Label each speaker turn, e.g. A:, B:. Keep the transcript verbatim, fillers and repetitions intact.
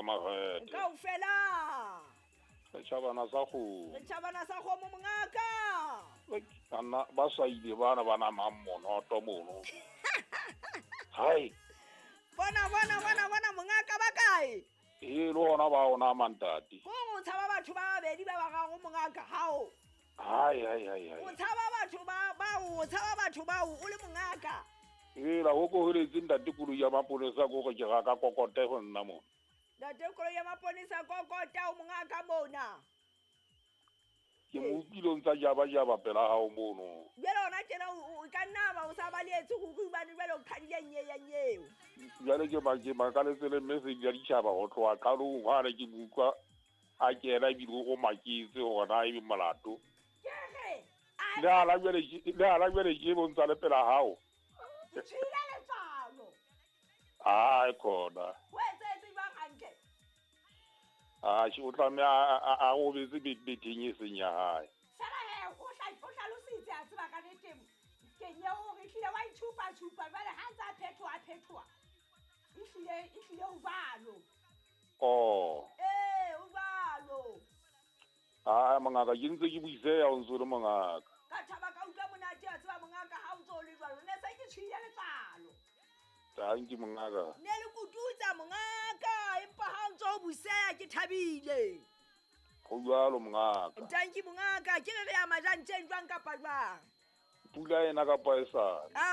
A: Makgethe.
B: Kaofela.
A: Setjhabana sa kgomo.
B: Setjhabana sa kgomo mongaka.
A: Banna ba sa ile bana ba namang monoto mono. Hai.
B: Bona bona bona bona mongaka ba kae?
A: E le hona ba ona mantate.
B: Ko o tshaba batho ba babedi ba bararo mongaka hao.
A: Hai hai hai hai.
B: O tshaba batho ba ba o tshaba batho ba o le mongaka.
A: E la ho ko holetse ntate koloi ya maponesa ko go ke ga ka kokote go nna mo.
B: Ntate koloi ya maponesa kokota o mongaka mona.
A: Ke mo utlwile o ntsa jaba jaba pela hao mono.
B: Jwale hona tjena o ka nna ba o sa baletse go hobane jwale o qhadile nye ya nyeo.
A: Jwale ke ba ke makaletse le message ya ditjhaba ho tloha qalong ha re ke utlwa a kena ebile o maketse hore na ebe molato.
B: Ke re
A: le ala jwale le ala jwale ke bontsa le pela hao.
B: Ke tshwile letswalo.
A: Ai khona.
B: O etsetse jwang hantle?
A: Ah, o tlameha a robetse betheng e seng ya hae.
B: Fela he, o hlalositse a tseba ka nnete. Ke nyeo hore ehlile wa itshupa tshupa jwale ha ntse a phethoha a phethoha. Ehlile ehlile o jwalo.
A: Oh.
B: Eh, o jwalo.
A: Ah, mongaka ke ntse ke buiseya o ntse o le mongaka.
B: Ka thaba ka utlwa monate a tseba mongaka ha o ntse o le jwalo. Ne se ke tshwile letswalo.
A: Tanki mongaka.
B: Ne le kututsa mongaka empa ha o ntse o buseya ke thabile.
A: Ho jwalo mongaka.
B: Tanki mongaka ke re re ya majantjeng jwang kapa jwang?
A: Pula ena kapa e sa.